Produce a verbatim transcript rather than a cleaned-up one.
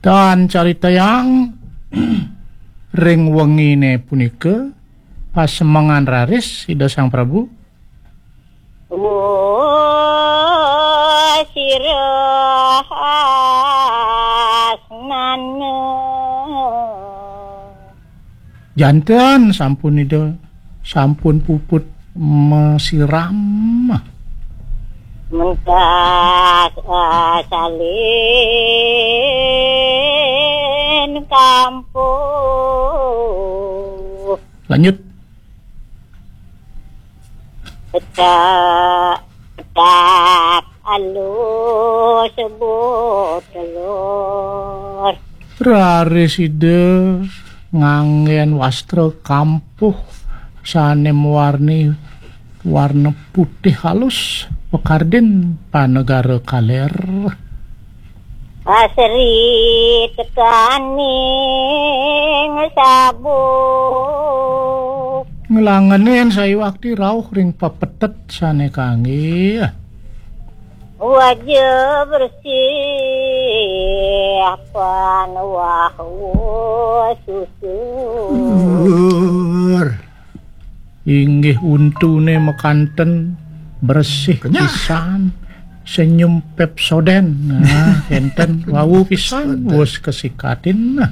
Dan caritayang ring wengine punika pasemengan raris Ida Sang Prabu. Oh, sira asnana. Janten sampun Ida, sampun puput masiram. Mentas asalin kampuh. Lanjut. Petak, petak, alus sebut telur. Raris Ida nganggen wastra kampuh sane mawarni warna putih halus, pekardin panegara kaler. Asri tekaning sabuk. Nglangenin sayuwakti rauh ring pepetet sane kangge. Wajah bersih pan wah susu. Inggih untune makanten bersih pisan, senyum Pepsodent. Nah, enten wau pisan, wus kesikatin. Nah.